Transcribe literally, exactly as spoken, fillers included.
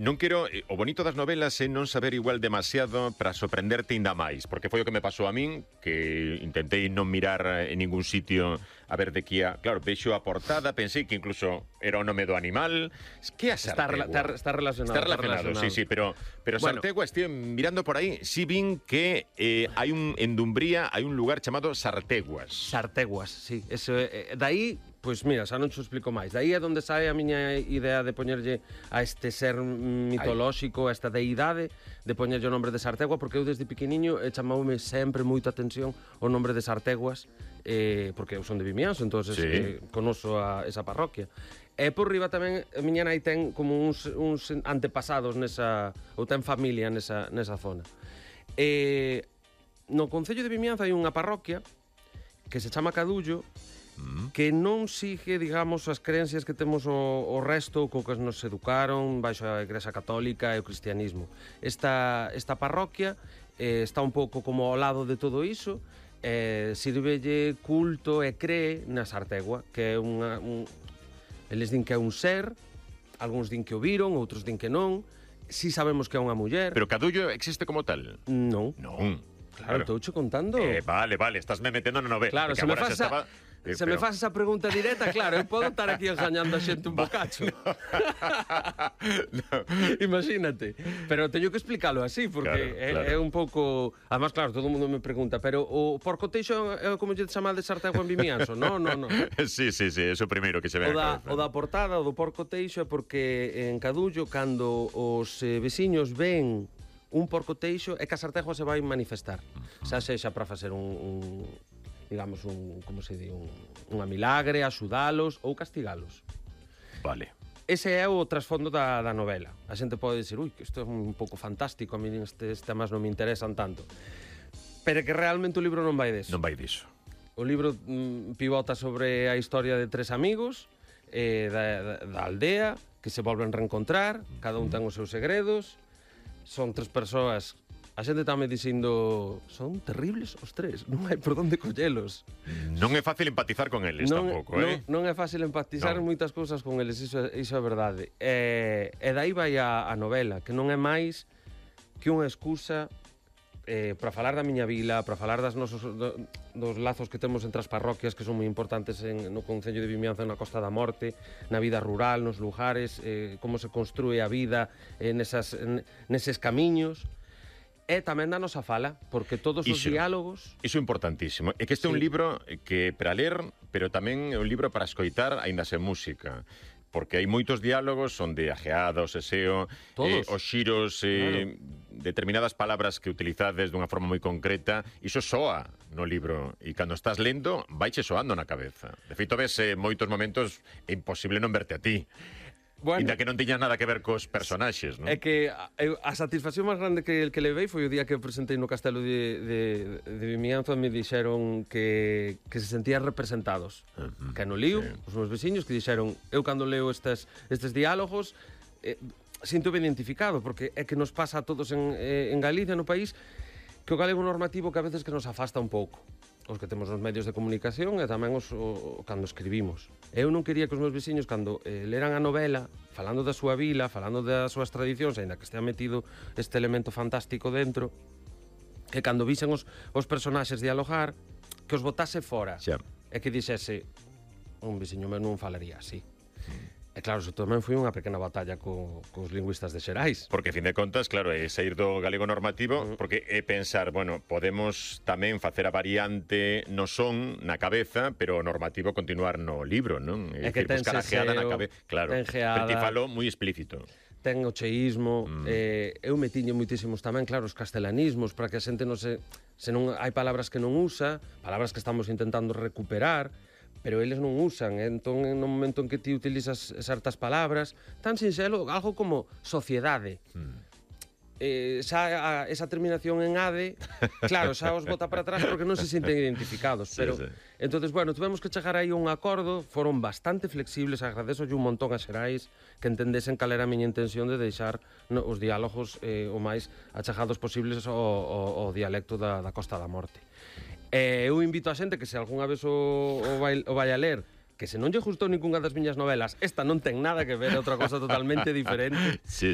Non quero, o bonito das novelas é non saber igual demasiado para sorprenderte ainda máis, porque foi o que me pasou a min, que intentei non mirar en ningún sitio a ver de que a... Claro, vexo a portada, pensei que incluso era o nome do animal. Que é a Sartegua? Está, está, está relacionado. Está relacionado, está relacionado. sí, sí, pero, pero bueno. Sartegua, estive mirando por aí, sí vin que eh, hai un, en Dumbría hai un lugar chamado Sarteguas. Sarteguas, sí. Eso, eh, dai... Pois mira, xa non te explico máis. Daí é onde sae a miña idea de poñerlle a este ser mitolóxico, a esta deidade, de poñerlle o nombre de Sartegua, porque eu desde pequeniño eh, chamoume sempre moita atención o nombre de Sarteguas, eh, porque eu son de Vimianzo, entón sí. eh, conoso a esa parroquia. E por riba tamén, a miña nai ten como uns, uns antepasados nesa, ou ten familia nesa, nesa zona. E no concello de Vimianzo hai unha parroquia que se chama Cadullo, que non sigue, digamos, as creencias que temos o, o resto co que nos educaron baixo a Igrexa Católica e o cristianismo. Esta, esta parroquia eh, está un pouco como ao lado de todo iso, eh, sirvelle culto e cree na Sartegua, que é unha... Un, eles din que é un ser, algúns din que o viron, outros din que non, si sabemos que é unha muller. Pero Cadullo existe como tal? Non. Non. Claro, estou che contando. Eh, vale, vale, estás me metendo na novela. Claro, se me faz estaba... Eh, se pero... me faz esa pregunta directa, claro, eu podo estar aquí engañando a xente un bocacho. No. Imagínate. Pero teño que explicarlo así, porque claro, claro. É, é un pouco... Además, claro, todo o mundo me pregunta, pero o porco teixo é como lle chamar de Sartegua en Vimianzo? No, no, no. Sí, sí, sí, é o primeiro que se ve o da, o da portada, o do porco teixo, é porque en Cadullo, cando os eh, veciños ven un porco teixo, é que a Sartegua se vai manifestar. Uh-huh. Xa sexa para facer un... un digamos, un, como se di, un, unha milagre, axudalos ou castigalos. Vale. Ese é o trasfondo da, da novela. A xente pode dicir, ui, que isto é un pouco fantástico, a mí estes temas non me interesan tanto. Pero que realmente o libro non vai deso. Non vai diso. O libro mm, pivota sobre a historia de tres amigos eh, da, da, da aldea que se volven reencontrar, cada un ten os seus segredos, son tres persoas. A xente está me dicindo, son terribles os tres, non hai por onde collelos. Non é fácil empatizar con eles non, tampouco, non, eh? Non é fácil empatizar no. moitas cousas con eles, iso, iso é verdade. E, e dai vai a, a novela, que non é máis que unha excusa eh, para falar da miña vila, para falar das nosos, do, dos lazos que temos entre as parroquias que son moi importantes en, no concello de Vimianzo, na Costa da Morte, na vida rural, nos lugares, eh, como se construe a vida eh, nesas, en, neses camiños. E tamén danos a fala, porque todos os iso, diálogos... Iso é importantísimo. É que este sí. é un libro que para ler, pero tamén é un libro para escoitar aínda sen música. Porque hai moitos diálogos onde a geada, o seseo, eh, os xiros, eh, claro. determinadas palabras que utilizades dunha forma moi concreta, iso soa no libro. E cando estás lendo, vaiche soando na cabeza. De feito, ves eh, moitos momentos é imposible non verte a ti. Bueno, Inda que non tiña nada que ver cos personaxes, non? É que a, a satisfacción máis grande que, que levei foi o día que eu presentei no Castelo de, de, de Vimianzo, me dixeron que, que se sentían representados. Uh-huh. Que no lío, sí. Os meus veciños que dixeron, eu cando leo estes, estes diálogos eh, sinto ben identificado, porque é que nos pasa a todos en, eh, en Galicia, no país, que o galego normativo que a veces que nos afasta un pouco. Os que temos nos medios de comunicación e tamén os o, cando escribimos. Eu non quería que os meus veciños, cando eh, leran a novela, falando da súa vila, falando das súas tradicións, aínda que estea metido este elemento fantástico dentro, que cando visen os, os personaxes dialogar, que os botase fora. Xa. E que dixese, un veciño meu non falaría así. Mm. E claro, eso tamén foi unha pequena batalla co, cos lingüistas de Xerais. Porque, a fin de contas, claro, é sair do galego normativo, uh-huh. porque é pensar, bueno, podemos tamén facer a variante no son, na cabeza, pero o normativo continuar no libro, non? É, é que ten seseo, na cabeza, claro, ten geada, pero ti falo moi explícito. Ten o cheísmo, mm. eh, eu me tiño moitísimos tamén, claro, os castelanismos, para que a xente non se... Se non hai palabras que non usa, palabras que estamos intentando recuperar, pero eles non usan, entón no momento en que ti utilizas certas palabras, tan sinxelo, algo como sociedade. Mm. Eh, xa a, esa terminación en ade, claro, xa os bota para atrás porque non se sinten identificados, pero sí, sí. Entonces, bueno, tuvemos que chegar aí a un acordo, foron bastante flexibles, agradezo un montón a Xerais que entendesen cal era a miña intención de deixar no, os diálogos eh, o máis achegados posibles ao, ao, ao dialecto da, da Costa da Morte. Eh, eu invito a xente que se algunha vez o, o, vai, o vai a ler, que se non lle gustou ningunha das miñas novelas, esta non ten nada que ver, é outra cosa totalmente diferente. Sí,